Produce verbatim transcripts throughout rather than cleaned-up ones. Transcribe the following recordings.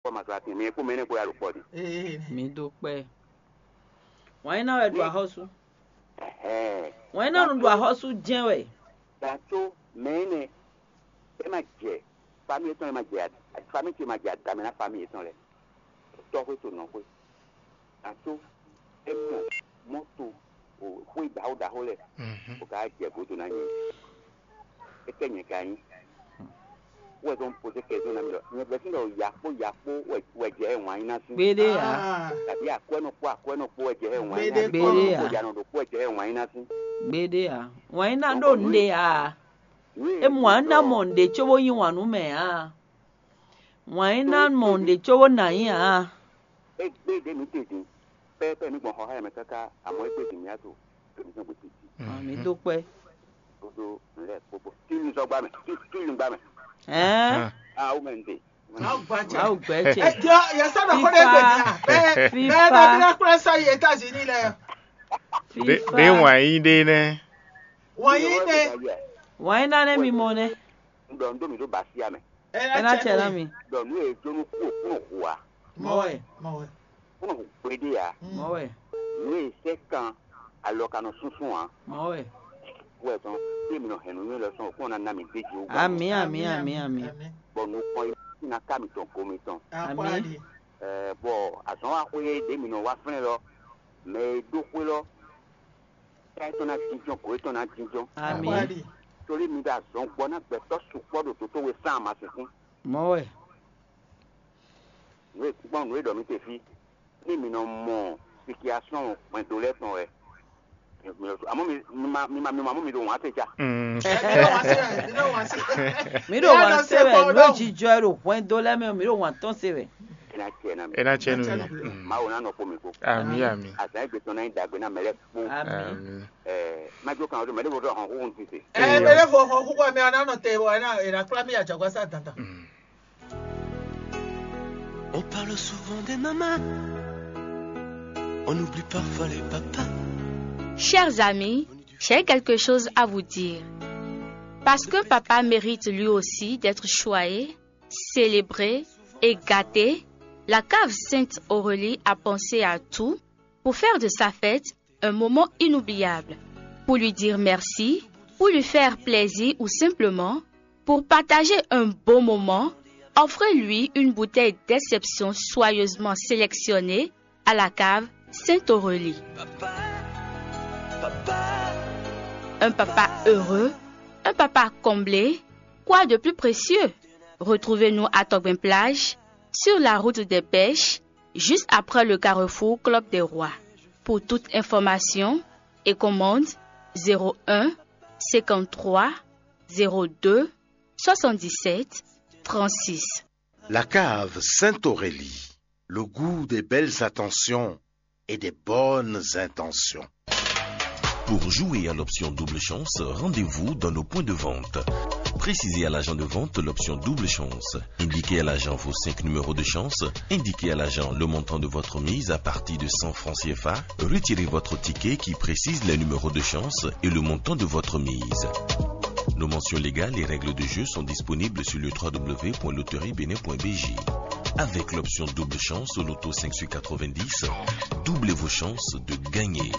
kpɔ́ ma zɔ atin, mɛ kpó mɛ énɛ́ kpó ya ɖo kpɔ́ ɖi. Ee, mi dó kpɛ́. Wǎn nyíná wɛ ɖo axɔ́sú. Ɛhɛn. Wǎn nyíná nu ɖo axɔ́sú jɛ́n wɛ. Gǎtó mɛ énɛ́, é ma jɛ, fami yětɔn lɛ́ɛ ma jɛ, fami ce ma jɛ adamɛ ná fami yětɔn lɛ́ɛ. Tɔ́xwé to nɔxwé. Gǎtó é mɔ mɔto o xwé ɖaxó ɖaxó lɛ, o ka jɛ godo ná nyɛ. É kɛ nyɛ ka nyí. Wɛ zɔn poze kɛ zɔn na mi lɔ. Nyɛ vɛ sin lɔ yakpo yakpo wɛ wɛ jɛ wǎn nyí ná sín. Gbeɖé ǎ. Ah. Tàbí akwɛ́nɔ kpó akwɛ́nɔ kpó wɛ jɛ wǎn nyí ná sín. Gbeɖé kpó. Gbeɖé ǎ. Kpó yanɔ ɖo kpó wɛ jɛ wǎn nyí ná sín. Gbeɖé ǎ. Wǎn nyí ná ɖo nǔɖé ǎ. É mɔ wǎn ná mɔ nǔɖé cóbó yí wǎn nú mɛ ǎ. Wǎn nyí ná mɔ nǔɖé cóbó ná nyí ǎ. É gbé ɖě mǐ te din. Pɛ́pɛ́ mǐ gbɔn xɔxá mɛ káká, amɔ̌ é gbé din mǐ to ɖo mǐ tɔn gbe títí. Ah, mi dó kpɛ́. Kodo nǔ lɛ́ɛ kpokpo. Tílizɔ́gbá mɛ, tí- tílizɔ́gbá mɛ. Ɛɛ. Ah, wú mɛ ń te. Mawu gba cɛ. Mawu gbɛ cɛ. Ɛ jɔ yɛ sɔ nɔ kó ɖe gbè ní a. Bɛ bɛ bɛ bí na kplɛ sɔ yi États-Unis lɛ. Ɖé wǎn yí ɖé nɛ́. Wǎn yí ɖé. Wǎn yí ná nɛ́ mi mɔ nɛ́. Un ɖɔ un ɖó mǐ ɖó basi amɛ. Ɛ ná cɛ ná mi. Ɖɔ nǔ e jó nú kú òkú nɔ hu a. Mɔ wɛ. Mɔ wɛ. Kú nɔ hu gbeɖé a. Mɔ wɛ. Nǔ e sɛ́ kan alɔ ka nɔ súnsún a. Mɔ wɛ. Wɛ tɔn, tí mi nɔ hɛn nǔnywɛ́ lɔ sɔn òkú ɔ́ ná ná mi gbé jǐ wú. Amǐ, amǐ, amǐ, amǐ. Bɔ nukɔn yi ná ká mitɔn go mitɔn. Amǐ. Ɛɛ, bɔ azɔn wa xwé ɖě mi nɔ wá flɛ́n lɔ, mɛ e ɖó xwé lɔ, ká yětɔn ná jínjɔ́n, gǒ yětɔn ná jínjɔ́n. Amǐ. Torí mi ɖo azɔn gbɔ ná gbɛtɔ́ sukpɔ́ ɖo dǒtowe sán amasinsin. Mɔ̌ wɛ. Nǔ e gbɔn nǔ e ɖɔ mi te fí, ní mi nɔ mɔ sikiasɔn hwɛndo lɛ́ɛ tɔn wɛ. Amɔ̌ mi mi ma mi ma mi ma mɔ mi ɖo wǎn te ja. Mm. Ɛ, mi ɖo wǎn se wɛ, mi ɖo wǎn se. Mi ɖo wǎn se wɛ, nǔ e jijɔ ɛ ɖo hwɛndo lɛ́ɛ mɛ, mi ɖo wǎn tɔn se wɛ. É ná cɛ ná mi. É ná cɛ nú mi. Mm. Mawu ná nɔ kpó mi kpó. Amǐ, amǐ. Azǎn e gbé tɔn ná nyí ɖagbe ná mɛ lɛ́ɛ kpó. Amǐ. Amǐ. Ɛ, má jó kan ɔ́, mɛ ɖé vo ɖɔ hɔn xúxú ti se. Ɛ, mɛ ɖé vo hɔn xúxú ɛ mɛ ɔ́ ná nɔ te wɔ ɛ ná è nǎ kplá mì yi ajɔ̌gbásá dandan. Mm. On parle souvent des mamans, on oublie parfois les papas. Chers amis, j'ai quelque chose à vous dire. Parce que papa mérite lui aussi d'être choyé, célébré et gâté, la cave Sainte Aurélie a pensé à tout pour faire de sa fête un moment inoubliable. Pour lui dire merci, pour lui faire plaisir ou simplement pour partager un bon moment, offrez-lui une bouteille d'exception soigneusement sélectionnée à la cave Sainte-Aurélie. Un papa heureux, un papa comblé, quoi de plus précieux ? Retrouvez-nous à Togben Plage, sur la route des pêches, juste après le carrefour Club des Rois. Pour toute information et commande, zéro un, cinquante-trois, zéro deux, soixante-dix-sept, trente-six. La cave Sainte-Aurélie, le goût des belles attentions et des bonnes intentions. Pour jouer à l'option double chance, rendez-vous dans nos points de vente. Précisez à l'agent de vente l'option double chance. Indiquez à l'agent vos cinq numéros de chance. Indiquez à l'agent le montant de votre mise à partir de cent francs C F A. Retirez votre ticket qui précise les numéros de chance et le montant de votre mise. Nos mentions légales et règles de jeu sont disponibles sur le trois W point loterie bénin point B J. Avec l'option double chance au loto cinq sur quatre-vingt-dix, doublez vos chances de gagner.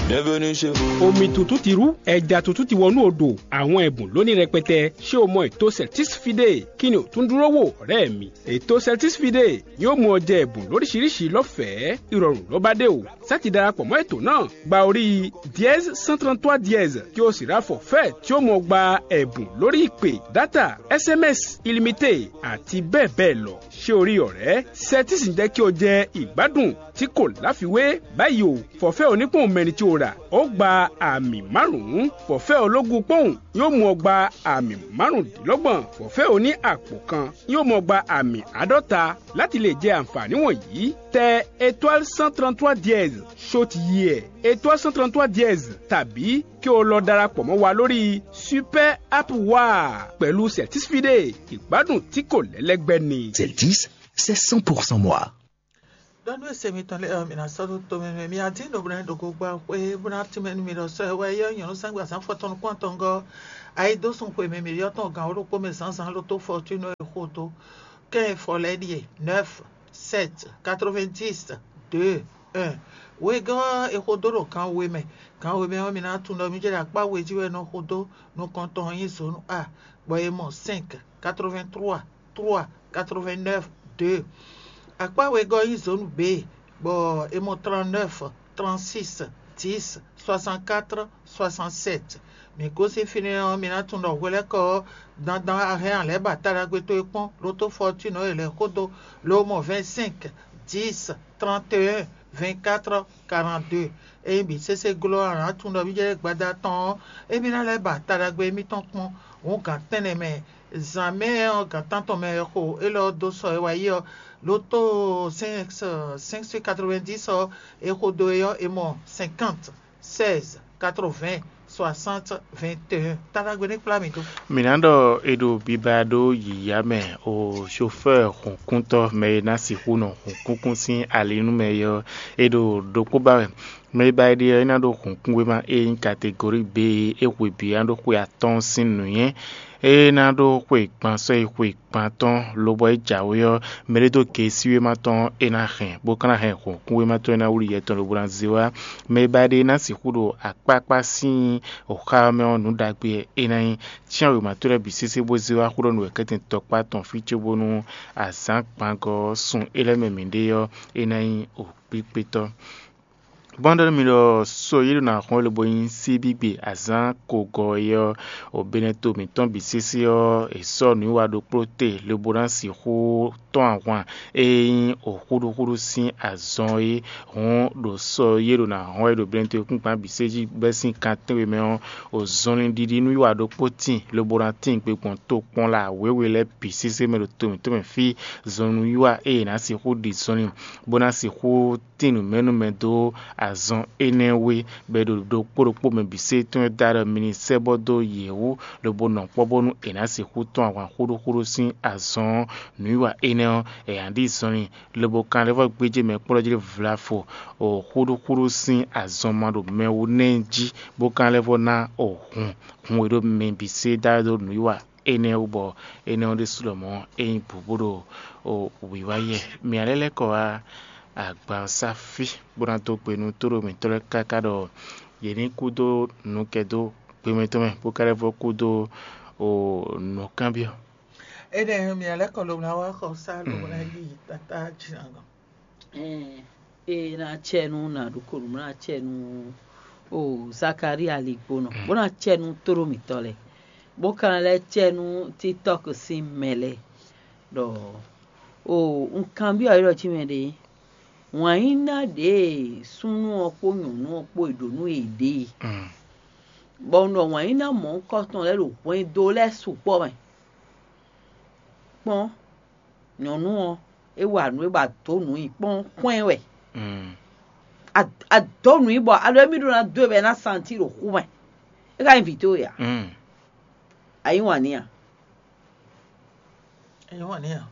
Bienvenue chez vous. Omi tuntun ti rú, ẹja tuntun ti wọnú odò, àwọn ẹ̀bùn lónìí rẹpẹtẹ. Ṣé o mọ ètò Celtis Fide? Kí ni o tún dúró wò, ọ̀rẹ́ mi? Ètò Celtis Fide yóò mú ọ jẹ ẹ̀bùn lóríṣiríṣi lọ́fẹ̀ẹ́, ìrọ̀rùn ló bá dé o. Sá ti darapọ̀ mọ́ ètò náà, gba orí dièse cent trente-trois dièse, kí o sì rá forfait tí ó mọ gba ẹ̀bùn lórí ìpè, dátà, S M S illimité àti bẹ́ẹ̀ bẹ́ẹ̀ lọ. Ṣé o rí ọ̀rẹ́? Celtis ń jẹ́ kí o jẹ ìgbádùn tí kò láfiwé. Báyìí o, forfait onípòun mẹ́ni tí o rà, ó gba àmì márùn-ún. Forfait ológun pòun yóò mú ọ gba àmì márùndínlọ́gbọ̀n. Forfait oní àpò kan yóò mú ọ gba àmì àádọ́ta. Láti lè jẹ àǹfààní wọ̀nyí, tẹ étoile cent trente-trois dièse, ṣó ti yí ẹ, étoile cent trente-trois dièse, tàbí kí o lọ darapọ̀ mọ́ wa lórí Super App Wa pẹ̀lú Celtis Fide, ìgbádùn tí kò lẹ́lẹ́gbẹ́ ni. Celtis, c'est cent pour cent moi. Ɖɔ nú ese mitɔn lɛ́ɛ ɔ́, mi ná sɔ́ ɖó tomɛ mɛ. Mi ná dín ɖo bɔ ná ɖo gogba xwé bó ná tínmɛ nú mi ɖɔ sɔ́ e wɛ yɔ́ nyɔ̌nu sɛ́n gbe azǎn fɔtɔn nukún atɔngɔ́ ɔ́, ayidósun xwe mɛ mǐ ɖyɔ́ tɔn gan wǒ ɖokpó mɛ zǎnzǎn ɖo tó Fɔtúnɔ e xo dó. Kɛ́n e fɔ lɛ́ɛ ɖíe: nɛ́f, sɛ́t, katrovɛ́n-dix, dó, un. Wegɔ́ ɔ́, è xo dó ɖo gan we mɛ. Gan we mɛ ɔ́, mi ná tunwun ɖɔ mǐ jɛ ɖo akpá we jí wɛ è nɔ xo dó nukɔn tɔn ɔ́ nyí zǒnu A, bɔ è mɔ sɛ́nk, katrovɛ́n-tlúwa, tlúwa, katrovɛ́n-nɛ́v, dó. Akpá wegɔ́ ɔ́ nyí zǒnu B, bɔ è mɔ tlannɛ́v, trannsís, dǐs, swasannkátrɔ, swasanntsɛ́t. Mǐ gosín fínɛ́ ɔ́, mi ná tunwun ɖɔ hwelɛ́kɔ ɔ́, dandan a hɛn a lɛ̌ ba taɖagbe towe kpɔ́n ɖó tó Fɔtúnɔ e è lɛ̌ xó dó, lo mɔ vɛ́nsɛ́nk, dǐs, tranteyɛ́n, vɛ́nkátrɔ, karantdó. Ényí bǐ sésé glɔ́ ɔ́, a nǎ tunwun ɖɔ mǐ jɛ gbada tɔn ɔ́, émí ná lɛ́ ba taɖagbe émítɔn kpɔ́n. Hǔn gǎn tɛ́nnɛ mɛ, zǎn mɛ ɔ́, gǎn tántɔn mɛ wɛ xo élɔ́ ɔ́ dó sɔ e wá yi ɔ́, lotó sɛ́nk sɛ́nk sɛ́nk katrovɛ́ndíis ɔ́, è xo dó é ɔ́, è mɔ sɛnkánt, sɛ́ɛz, katrovɛ́n, swasánti, vɛ́nteyɛ́n. Taɖagbe ní kplá mǐ dó. Mǐ ná ɖɔ è ɖo biba ɖó yǐyá mɛ, o, xofɛ́ɛ hǔnkúntɔ́, mɛ e ná sixú nɔ hǔnkúnkún sín ali nú mɛ é ɔ́, è ɖo ɖokpó ba wɛ. Mɛ e ba è ɖe ɔ́, é ná ɖó hǔnkúnwéma e nyí kategóri B e é hwe bǐ ná ɖó xwe atɔ́ɔ́n sín nǔnywɛ́. É ná ɖó xwe gban sɔ́ yi xwe gban tɔn, lobɔ é jǎwe ɔ́, mɛ ɖé dó geesíwéma tɔn ɔ́, é ná hɛn, bó ka ná hɛn hǔnkúnwéma tɔn e ná wlí yɛ tɔn lobo ná zé wá. Mɛ e ba è ɖe ná sixú ɖo akpákpá sín wǒxá ɔ́ mɛ ɔ́, nǔ ɖagbe wɛ é ná nyí. Cyán wěma towe lɛ́ɛ bǐ sésé bó zé wá xó ɖɔ nǔ wɛ kɛ́tɛn tɔkpá tɔn fí cóbónú azǎn gbangɔ ɔ́ sun é lɛ́ɛ mɛ mǐ ɖe ɔ́, é ná nyí wǒkpíkpétɔ́. Bɔ́ nú mi ɖɔ so yě ɖo nǎ xɔ́n lobo nyí síbígbe azǎn kogɔ é ɔ́, o Benɛto mǐtɔn bǐ sésé ɔ́, è sɔ́ nǔwiwa ɖokpló te lobo ná sixú tɔ́n ahwan e nyí o xúɖúxúɖú sín azɔn é. Hǔn ɖo sɔ yě ɖo nǎ hɔn wɛ ɖo Benɛto kúnkpan bǐ sé jí bɛ́ sín kan tɛ́nwe mɛ ɔ́, o zɔnlin ɖiɖi nú wiwa ɖokpó tíin lobo ná tíin gbe gbɔn tokpɔn la wěwe lɛ́ɛ bǐ sésé mɛ ɖo to mǐtɔn mɛ fí. Zɔnlin wiwa e è nǎ sixú ɖi zɔnlin bó ná sixú tín nǔmɛnúmɛ dó azɔn énɛ́ wé, bɔ è ɖo ɖokpó ɖokpó mɛ bǐ sé tɔn e da ɖɔ mi ní sɛ́ bɔ dó yě wú, lobo nɔ kpɔ́ bónú è nǎ sixú tɔ́n ahwan xúɖúxúɖú sín azɔn ɔ́. Nǔwiwa énɛ́ ɔ́, è nǎ ɖi zɔnlin, lobo kanlevɔ gbéjé mɛ kplɔ́ jí vlafo o xúɖúxúɖú sín azɔn ma ɖo mɛ wú nɛ́ jí, bó kanlevɔ ná o hun hun e ɖo mɛ bǐ sé da ɖó nǔwiwa énɛ́ wú, bɔ énɛ́ ɔ́ ɖésú lɔmɔ̌ é nyí bǔbú ɖo wǐwá yɛ. Mǐ ná lɛ́ lɛ́ kɔ wá agbansá fí, bó ná dó gbe nú tóɖó mǐtɔn lɛ́ɛ káká ɖɔ yě ní kú dó nǔkɛdó gbemɛ tɔn mɛ, bó ka lɛ́ vɔ́ kú dó nǔkanbyɔ́. Énɛ́ mǐ ná lɛ́ kɔ lobo ná wá xɔ sá lobo ná yi tatá jǐnagɔn. Ɛɛ, e ná cɛ nú nǎ ɖokpó nǔ ná cɛ nú o Zakalía ligbónɔ, bó ná cɛ nú tóɖó mǐtɔn lɛ́ɛ, bó ka ná lɛ́ cɛ nú TikTɔ́k sín mɛ lɛ́ɛ ɖɔ o un kanbyɔ́ yě ɖɔ cí mɛ ɖě, wǎnyíná ɖě e súnnu ɔ́ kpó nyɔ̌nu ɔ́ kpó e ɖǒ nú yěɖée, bɔ un ɖɔ wǎnyíná mɔ̌hunkɔtɔn lɛ́ɛ ɖo hwɛndo lɛ́ɛ sukpɔ́ mɛ. Kpɔ́n, nyɔ̌nu ɔ́, é wa nǔ e ba dǒ nǔ nyi kpɔ́n kpɔ́n ɛ wɛ. A dǒ nǔ nyi bɔ a ɖo émí ɖó ná dó e bɔ é ná santi ɖo xú mɛ. É ka nyí vǐ towe a? A yí wǎn n'i a? A yí wǎn n'i a?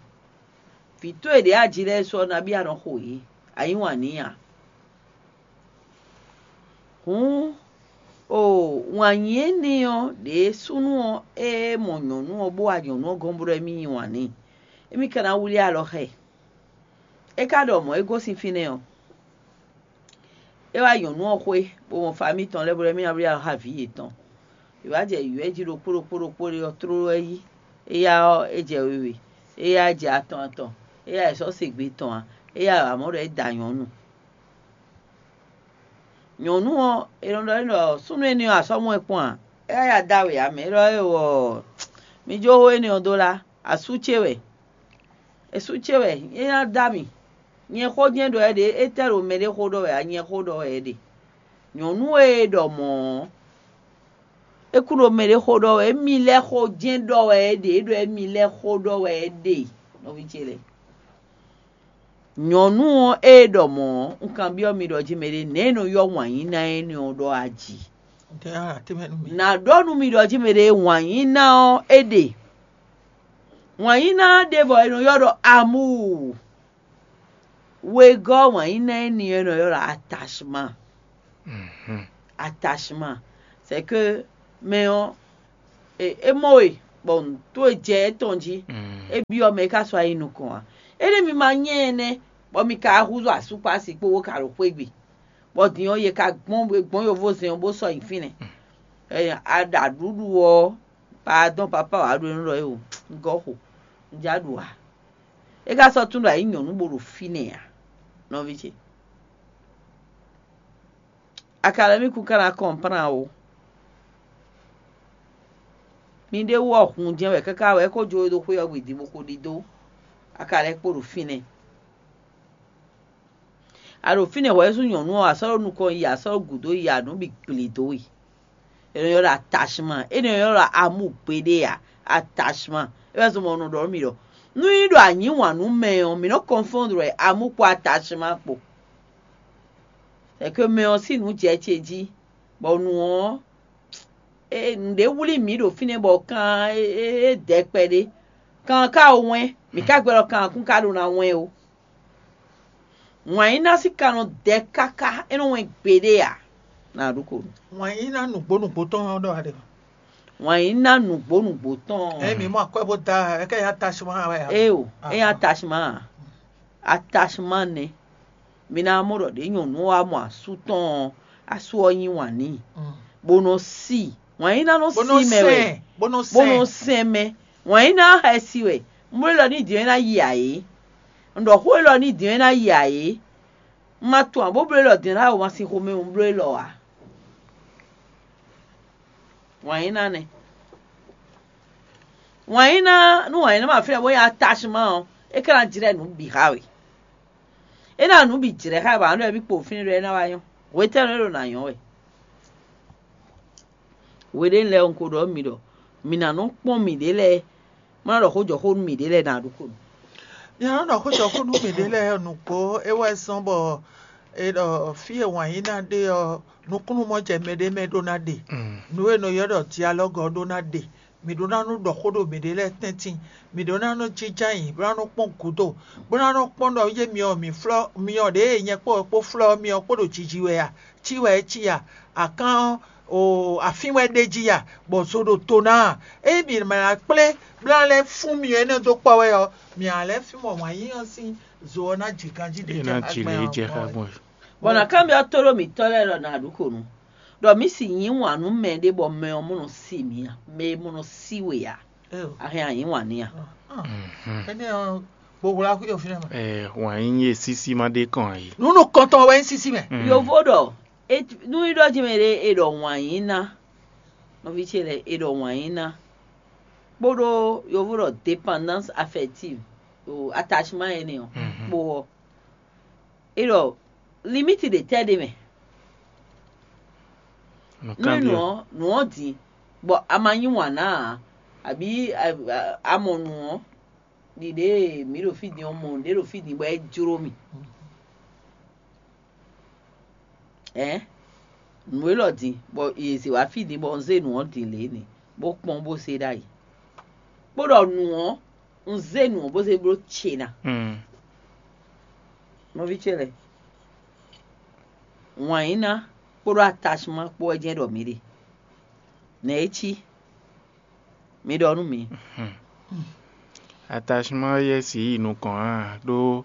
Vǐ towe ɖě a ji lɛ́ɛ sɔ nabí a nɔ xo yě? A yí wǎn n'i a? Hǔn, o wǎn nyi énɛ́ ɔ́ ɖě súnnu ɔ́ e mɔ nyɔ̌nu ɔ́ bó wá nyɔ̌nu ɔ́ gɔ́n bó ɖɔ émí yí wǎn n'i. Émí ka ná wlí alɔ xá ɛ. É ka ɖɔ mɔ̌ é gosín fínɛ́ ɔ́, é wá nyɔ̌nu ɔ́ xwé, bó mɔ famíi tɔn lɛ́ɛ bó ɖɔ émí ná wlí alɔ xá vǐ yětɔn. È wǎ jɛ yǔyɔ́ jí ɖokpó ɖokpó ɖokpó ɖé ɔ́ tlóló wɛ yí. Éyá ɔ́, é jɛ wewe, éyá jɛ atɔn atɔn, éyá è sɔ́ se gbe tɔn ǎ, éyá wǎ mɔ ɖɔ é da nyɔ̌nu. Nyɔ̌nu ɔ́, è nɔ ɖɔ n'i ɖɔ súnnu énɛ́ ɔ́, a sɔ́ mɔ ɛ kpɔ́n a? É wá ya dó awe ǎ mɛ, é ɖɔ éeǒ, mi jó xó énɛ́ ɔ́ dó lá, asú ce wɛ. Esú ce wɛ é ná dó ami. Nyɛ xó jɛ́n ɖɔ wɛ é ɖe, étɛ́ ɖo mɛɖé xó ɖɔ wɛ ǎ? Nyɛ xó ɖɔ wɛ é ɖe. Nyɔ̌nu e ɖɔ mɔ̌ ɔ́, é kún ɖo mɛɖé xó ɖɔ wɛ, émi lɛ́ɛ xó jɛ́n ɖɔ wɛ é ɖe, é ɖɔ émi lɛ́ɛ xó ɖɔ wɛ é ɖe, nɔví ce lɛ́ɛ. Nyɔ̌nu ɔ́ e ɖɔ mɔ̌ ɔ́, un kanbyɔ́ mi ɖɔ jí mɛɖé nɛ̌ è nɔ ylɔ́ wǎnyíná énɛ́ ɔ́ ɖɔ aji? Nǎ ɖɔ nú mi ɖɔ jí mɛɖé wǎnyíná ɔ́ é ɖe. Wǎnyíná ɔ́ ɖe bɔ è nɔ ylɔ́ ɖɔ amúu. Wegɔ́ wǎn yí ná énɛ́ ɔ́ nɔ ylɔ́ ɖɔ attachement. Attachement, c'est que mɛ ɔ́, é mɔ we bɔ nǔ towe jɛ étɔn jí, é byɔ́ mɛ é ka sɔ́ yi nukɔn ǎ. Énɛ́ mi ma nyɛ ɛnɛ́, bɔ mi ka húzú asúkpási kpó bó ka ɖo xwé gbe, bɔ din ɔ́, yě ka gbɔn gbɔn yovózɛn ɔ́ bó sɔ́ nyi fínɛ́. Ɛ, a ɖa ɖuɖu ɔ́, pardon, papa wǎ ɖo nú ɖɔ é o, un gɔ́ xo, un já ɖu ǎ. É ka sɔ́ tún ɖo ayǐ nyɔ̌nu bó ɖo fínɛ́ ǎ, nɔví ce. A ka lɛ́ mì kún ka ná kɔnplán o. Mi ɖé wú ɔ́ hun jɛ́n wɛ káká wɛ é ko jó we ɖó xwé ɔ́ gbe din bó ko ɖidó. A ka lɛ́ kpo ɖo fínɛ́. A ɖo fínɛ́ hwɛ̌ sú nyɔ̌nu ɔ́, a sɔ́ ɖo nukɔn yi, a sɔ́ ɖo gǔdo yi, a nǔ bǐ gblě dó we. È nɔ ylɔ́ ɖɔ attachement, é nɔ ylɔ́ ɖɔ amour gbeɖé ǎ. Attachement, é wɛ zɔn bɔ un nɔ ɖɔ nú mi ɖɔ nú nyí ɖɔ a yǐ wǎn nú mɛ ɔ́, mǐ nɔ confondre wɛ amour kpó attachement kpó. Sɛkɛ mɛ ɔ́ sín nǔ jɛ ce jí, bɔ nǔ ɔ́, nǔɖé wlí mǐ ɖo fínɛ́ bɔ kan é dɛ kpɛɖé. Kan ka o wɛn, mǐ ka gbɛ́ ɖɔ kan kún ka ɖo ná wɛn o. Wǎn yí ná sí ka nɔ dɛ káká, é nɔ wɛn gbeɖé ǎ. Nǎ ɖu ko nú. Wǎn yí ná nǔgbó nǔgbó tɔn ɔ́ ɖɔ wɛ ɖe. Wǎn yí ná nǔgbó nǔgbó tɔn ɔ́. Ɛ mǐ mɔ akwɛ́ bó da ɛ kɛ nyí attachement wɛ ǎ. Ée o, é nyí attachement ǎ. Attachement nɛ́. Mi ná mɔ ɖɔ ɖě nyɔ̌nu ɔ́ wá mɔ asú tɔn ɔ́, asú ɔ́ yí wǎn n'i, bó nɔ sí i. Wǎn yí ná nɔ sí mɛ wɛ, bó nɔ sɛn mɛ. Wǎn yí ná xɛsi wɛ. Un bló élɔ́ ní din ɔ́ é ná yi ǎ é. Un ɖɔ xó élɔ́ ní din ɔ́ é ná yi ǎ é. Un ma tunwun ǎ bó bló élɔ́ din ɔ́ ná wá wǎn sín xomɛ un bló élɔ́ ǎ. Wǎn yí ná nɛ́. Wǎn yí ná nú wǎn yí ná ma fínɛ́ bó nyí attachement ɔ́, é ka ná jlɛ́ nǔ bǐ xá we. É ná nǔ bǐ jlɛ́ xá we bɔ a nǎ ɖɔ émí kpo fínɛ́ ɖɔ é ná wá nyɔ́. Hwetɛ́nu é ɖo nǎ nyɔ́ wɛ? Hweɖénu lɛ́ɛ un ko ɖɔ nú mi ɖɔ mǐ ná nɔ kpɔ́n mǐɖée lɛ́ɛ, má ná ɖɔ xó jɔ xó nú mǐɖée lɛ́ɛ ná ɖu xó nú. Nya nɔ ɖɔ xó jɔ xó nú mǐɖée lɛ́ɛ nǔgbó é wɛ zɔ́n bɔ è ɖɔ fí e wǎn yí ná ɖe ɔ́, nukúnnú mɔ jɛ mɛɖé mɛ ɖó ná ɖe. Nǔ e è nɔ ylɔ́ ɖɔ dialɔ́gɔ ɔ́ ɖó ná ɖe. Mǐ ɖó ná nɔ ɖɔ xó ɖo mǐɖée lɛ́ɛ tɛ́ntin. Mǐ ɖó ná nɔ jínjɔ́n ayǐ, bó ná nɔ kpɔ́n gǔdo, bó ná nɔ kpɔ́n ɖɔ yé myɔ mǐ flɔ́ myɔ ɖě e nyɛ kpó wɛ kpó flɔ́ myɔ kpó ɖo jiji wɛ a? Cí wɛ é cí a? Akán ɔ́, afín wɛ ɖ'é jí a, bɔ zo ɖo to ná a? Ényí mǐ ma ná kplé bó ná lɛ́ fún myɔ énɛ́ dó kpɔ́ wɛ ɔ́, mǐ ná lɛ́ fínmɔ wǎn yíyí ɔ́ sín zo ɔ́ ná ji ganjí ɖě É ná jɛ ji lě xá gbɔn jɛ xá wɛ. Gbɔn ɔ́. Bɔ nǎ kanbyɔ́ tóɖó mǐtɔn lɛ́ɛ ɖɔ nǎ ɖu xo nú, ɖɔ mǐ sì yí wǎn nú mɛ ɖé bɔ mɛ ɔ́ mɔ nɔ sí mǐ ǎ, mɛ e mɔ nɔ sí we ǎ, Éyo. A hɛn anyǐ wǎn n'i a? Énɛ́ ɔ́, gbo wlá xwí ɔ́ fínɛ́ mɛ. Ɛ, wǎn yí e sísí ma ɖe kɔn ǎ é. Nǔ nukɔntɔn wɛ nyí sísí mɛ. Yovo ɖɔ é- nú í ɖɔ jí mɛ ɖé è ɖɔ wǎn yí ná, nɔví ce lɛ́ɛ è ɖɔ wǎn yí ná, kpódó yovo ɖɔ dépendance affective, o attachement énɛ́ ɔ́ kpó ɔ́, é ɖɔ limite ɖě tɛ́ ɖ'é mɛ. Nú é nǔ ɔ́ nǔ ɔ́ din, bɔ a ma yí wǎn ná ǎ, abǐ a- a- a mɔ nǔ ɔ́, ɖiɖe e mǐ ɖo fí din ɔ́ mɔ nǔɖé ɖo fí din bɔ é jló mì. Ɛ̌, nǔ élɔ́ din bɔ è zě wá fí din bɔ un zé nǔ ɔ́ din lě nɛ, bó kpɔ́n bó se ɖ'ayǐ. Kpó ɖɔ nǔ ɔ́, un zé nǔ ɔ́ bó zé bló ce ná. Nɔví ce lɛ́ɛ, wǎn yí ná kpódó atachimán kpó wɛ jɛ́n ɖɔ mǐ ɖe. Nɛ̌ é cí? Mi ɖɔ nú mǐ. Atachimán yɛ́ sǐ yi nukɔn ǎ, ɖó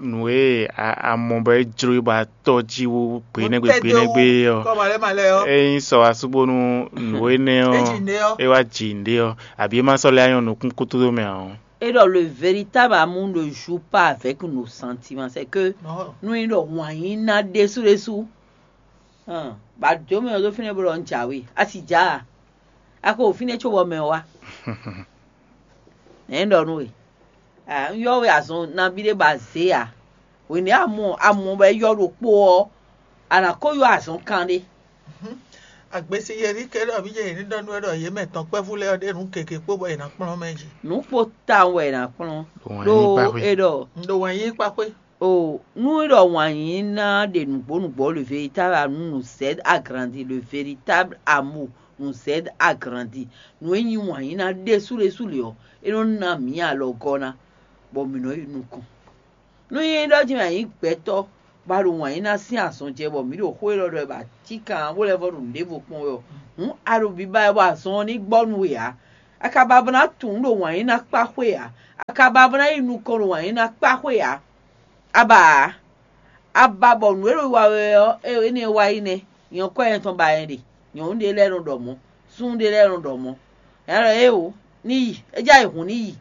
nǔ e a- a mɔ bɔ é jló we bɔ a tɔ́ jí wú gbe nɛ́gbe gbe nɛ́gbe ɔ́, é nyí sɔ asúbónú nǔ énɛ́ ɔ́, é wá ji nǔɖé ɔ́, abǐ é má sɔ́ lɛ́ nyɔ́ nukún kútúdó mɛ ǎ ɔ́. Et donc, le véritable amour ne joue pas avec nos sentiments. C'est que nú é ɖɔ wǎn yí ná ɖésú ɖésú, bɔ a dǒ mɛ ɔ́ ɖó fínɛ́ bó ɖɔ un jǎwe, a sì já a? A ko ɖo fínɛ́ cóbɔ mɛ ɔ́ wá. Nɛ̌ un ɖɔ nú we? Un ylɔ́ we azɔn nabí ɖé bɔ a zě ǎ. Hwenu e a mɔ a mɔ bɔ é ylɔ́ ɖokpó ɔ́, a nǎ ko ylɔ́ azɔn kanɖé. Agbesi yɛlí kɛ ɖɔ mí jɛ yě ní ɖɔ nú wɛ ɖɔ yě mɛ tɔn kpɛ́vú lɛ́ɛ ɔ́ ɖe nǔ gěgé kpó bɔ yě ná kplɔ́n mɛ jí. Nǔ kpo tawun wɛ è nǎ kplɔ́n. Ɖó é ɖɔ un ɖo wǎn yí kpáxwé. O nú é ɖɔ wǎn yí ná ɖe nǔgbó nǔgbó, le véritable amour nous aide à grandir, le véritable amour nous aide à grandir. Nǔ e nyí wǎn yí ná ɖésú ɖésú lě ɔ́, é nɔ ná mǐ alɔgɔ́ ná, bɔ mǐ nɔ yi nukɔn. Nú nyí ɖɔ jí mɛ a nyǐ gbɛtɔ́, bɔ a ɖo wǎn yí ná sín azɔn jɛ bɔ mǐ ɖo xó élɔ́ ɖɔ wɛ bɔ a cí kan ɔ́, bó lɛ́ vɔ́ ɖo nǔɖévo kpɔ́n wɛ ɔ́, hǔn a ɖo biba wɛ bɔ azɔn ɔ́ ní gbɔ nú we ǎ. A ka ba bó ná tunwun ɖo wǎn yí ná kpá xwé ǎ. A ka ba bó ná yi nukɔn ɖo wǎn yí ná kpá xwé ǎ. A ba ǎ. A ba bɔ nǔ e ɖo wa wɛ ɔ́, énɛ́ wá yi nɛ́. Nyɔ̌kɔ nyɛ tɔn ba nyɛ ɖe. Nyɔ̌nu ɖé lɛ́ɛ nɔ ɖɔ mɔ̌. Súnnu ɖé lɛ́ɛ nɔ ɖɔ mɔ̌. Nya ɖɔ éeǒ, ní yi. É já yi hǔn ní yi.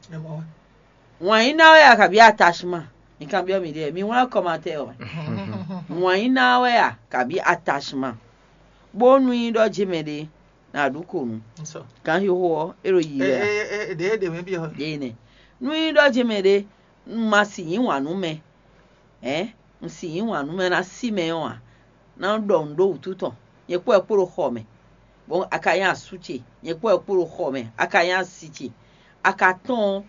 Wǎn yí ná wɛ a kabǐ atachement? Mi kanbyɔ́ miɖée, mi wlán kɔmatɛ́ ɔ́. Wǎn yí ná wɛ a kabǐ atachement? Bónú nyí ɖɔ jí mɛ ɖé, nǎ ɖu kǒ nu. Ganxixo ɔ́, é ɖo yi wɛ a? Ɖě ɖě mɛ byɔ́. Ɖě nɛ. Nú nyí ɖɔ jí mɛ ɖé, un ma si yí wǎn nú mɛ, hɛ̌n, un si yí wǎn nú mɛ ná sí mɛ ɔ́ ǎ, ná ɖɔ nǔ ɖó wǔtu tɔn, nyɛ kpó wɛ kpó ɖo xɔ mɛ, bɔ a ka nyí asú ce, nyɛ kpó wɛ kpó ɖo xɔ mɛ, a ka nyí asi ce, a ka tɔ́n ɔ́,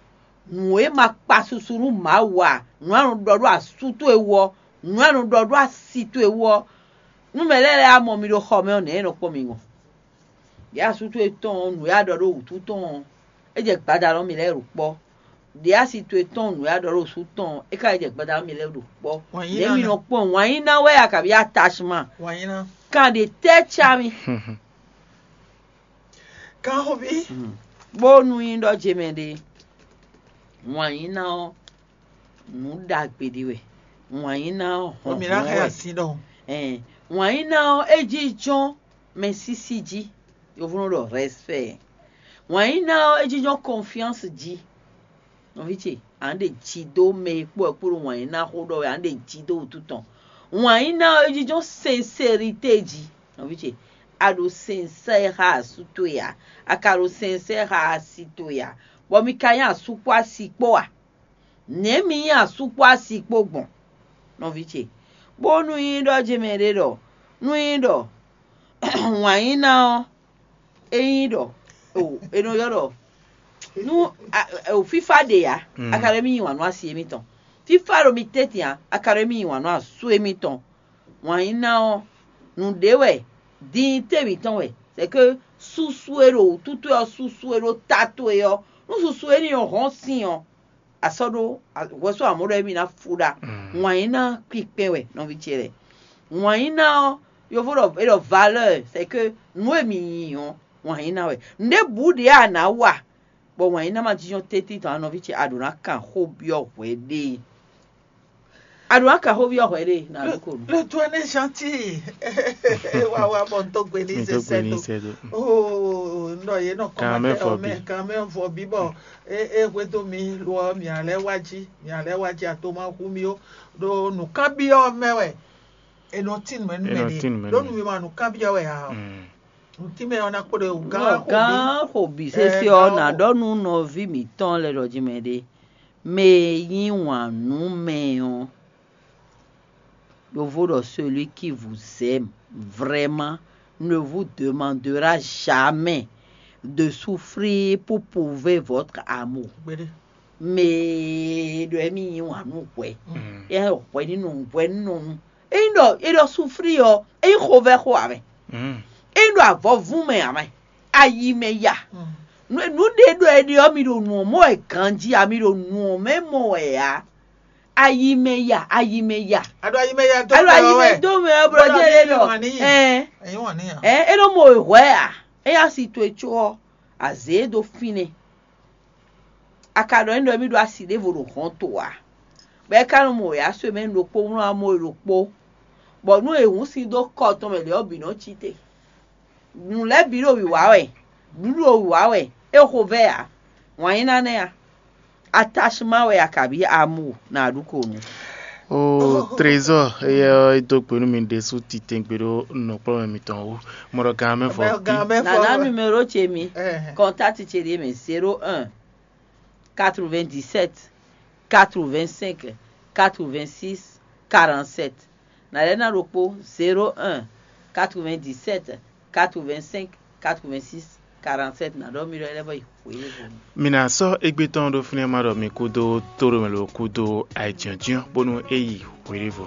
nǔ e ma kpa susu nú Mawu ǎ, nǔ e a nɔ ɖɔ ɖó asú towe wú ɔ́, nǔ e a nɔ ɖɔ ɖó asi towe wú ɔ́, nú mɛ lɛ́ɛ lɛ́ɛ mɔ mi ɖo xɔ mɛ ɔ́, nɛ̌ è nɔ kpɔ́n mi gbɔn? Ɖě asú towe tɔn ɔ́, nǔ e a ɖɔ ɖó wǔtu tɔn ɔ́, é jɛ gbadanu mi lɛ́ɛ ɖo kpɔ́. Ɖě asi towe tɔn nǔ e a ɖɔ ɖó wǔtu tɔn ɔ́, é ka yi jɛ gbadanu mi lɛ́ɛ ɖo kpɔ́. Nɛ̌ mi nɔ kpɔ́n wǎn yí ná wɛ a kabǐ atachement? Kan ɖě tɛ́ cá mi. Kanxoví. Bónú nyí ɖɔ jemɛ ɖe, wǎn yí ná ɔ́, nǔ ɖagbe ɖé wɛ. Wǎn yí ná ɔ́, hɔn mǐ ná hɛn asi ɖɔhun. Ɛn, wǎn yí ná ɔ́, é jínjɔ́n mɛ sísí jí. Yovónɔ ɖɔ respect. Wǎn yí ná ɔ́, é jínjɔ́n confiance jí. Nɔví ce, à nǎ ɖe ji dó mɛ e kpó wɛ kpó ɖo wǎn yí ná xó ɖɔ wɛ, à nǎ ɖe ji dó wútu tɔn. Wǎn yí ná ɔ́, é jínjɔ́n sincérité jí. Nɔví ce, a ɖo sincère xá asú towe ǎ, a ka ɖo sincère xá asi towe ǎ, bɔ mi ka nyí asú kpó asi kpó a? Nɛ̌ mi nyí asú kpó asi kpó gbɔn? Nɔví ce, bónú nyí ɖɔ jemɛ ɖé ɖɔ, nú nyí ɖɔ wǎn yí ná ɔ́, é nyí ɖɔ o è nɔ ylɔ́ ɖɔ nú o fífá ɖe ǎ, a ka ɖo émí yí wǎn nú asi émítɔn. Fífá ɖo mi tɛ́ntin ǎ, a ka ɖo émí yí wǎn nú asú émítɔn. Wǎn yí ná ɔ́, nǔɖé wɛ, dinyité mǐtɔn wɛ, c'est que susu e ɖo wǔtútú ɔ́, susu e ɖo ta towe ɔ́, nú susu énɛ́ ɔ́ hɔ́n sin ɔ́, a sɔ́ ɖó hwɛsó amɔ̌ ɖɔ émí ná fú ɖa. Wǎn yí ná kpinkpɛn wɛ, nɔví ce lɛ́ɛ. Wǎn yí ná ɔ́, yovo ɖɔ é ɖɔ valeur, c'est que nǔ e mǐ nyi ɔ́, wǎn yí ná wɛ. Nǔɖé bǔ ɖě a nǎ wa, bɔ wǎn yí ná ma jínjɔ́n tɛ́ntin tɔn ǎ, nɔví ce, a ɖǒ ná kan xó byɔ́ hwɛɖée. A ɖǒ ná kan xó byɔ́ hwɛɖée, nǎ ɖó ko nu. Le tour est gentil. Wa wa bɔ n tó gbe ní Mi tó gbe ní sɛsɛ tó. Oh, nɔ yé nɔ Kan mɛ kɔmatɛ fɔ ɔ mɛ, bi. Kan mɛ fɔ bi bɔ e e hwedó mi lo ɔ mia lɛ wá jí, mia lɛ wá jí ato ma hu mi ó. Ɖo nǔkanbyɔ mɛ wɛ. E nɔ tin mɛ nú Enɔ mɛ ɖe. Tin mɛ Ɖo nú nu mi ma nǔkanbyɔ wɛ a? Mm. Nǔtínmɛ ɔ́ ná kpo ɖe wú gán Gán xo bǐ sésé ɔ́, nǎ ɖɔ nú nɔví mǐtɔn lɛ́ɛ ɖɔ jí mɛ ɖé. Mɛ e yí wǎn nú mɛ ɔ́, yovo ɖɔ celui qui vous aime vraiment ne vous demandera jamais de souffrir pour prouver votre amour. Mɛ e ɖɔ émí yí wǎn nú hwɛ, é hwɛ ní nɔ hwɛ ní nɔ nu. Ényí ɖɔ é ɖɔ suflí ɔ́, é nyí xovɛ́ xo ǎ mɛ. É nyí ɖɔ avɔvún mɛ ǎ mɛ. Ayi mɛ ya. Nǔ ɖé ɖɔ é ɖe ɔ́, mi ɖo nǔ ɔ́ mɔ wɛ ganjí ǎ, mi ɖo nǔ ɔ́ mɛ mɔ wɛ ǎ. Ayi mɛ ya, ayi mɛ ya. A ɖo ayi mɛ ya dó Alo mɛ ayi ɔ́ mɛ wɛ. Dó mɛ ɔ́, blɔ Bɔlá jɛ mi é ɖɔ. Wà níyì. Ɛɛ. Ẹ̀yin wà níyà. Ɛɛ, é nɔ mɔ wɛ hwɛ ǎ. É nyí asi towe có ɔ́, azě dó fínɛ́. A ka ɖɔ n'i ɖɔ émí ɖó asi ɖěvo ɖo hɔn to ǎ, bɔ é ka nɔ mɔ wěwá sɔ́ mɛ ɖokpó wlán amó e ɖokpó, bɔ nú è hǔn sin dó kɔ tɔn mɛ lě ɔ́ bǐ nɔ́ cí te. Nǔ lɛ́ɛ bǐ ɖo wǐwá wɛ, nǔɖuɖu ɖo wǐwá wɛ, é xo vɛ́ ǎ. Wǎn nyíná nɛ́ a? Atachement wɛ a kabǐ amour na ɖu ko nu. O trésor, éyɛ́ ɔ́, é dó gbe nú mi ɖésú titɛngbé ɖó nǔkplɔ́nmɛ mitɔn wú. Mo ɖɔ gan mɛ fɔ Bɛ gan mɛ fɔ Nana wɛ. Numéro ce mi, Ɛhɛn. Contact ce ɖíe mɛ zéro un, quatre-vingt-dix-sept, quatre-vingt-cinq, quatre-vingt-six, quarante-sept. Na lɛ́ ná ɖokpó zéro un, quatre-vingt-dix-sept, quatre-vingt-cinq, quatre-vingt-six, quarante-sept, na ɖɔ mi ɖɔ lɛ́ vɔ yi hweyévo. Mi ná sɔ́ égbé tɔn ɖó fínɛ́ má ɖɔ mi kúdó tóɖomɛ ló kúdó ayǐjínjɔ́n bónú é yi hweɖévo.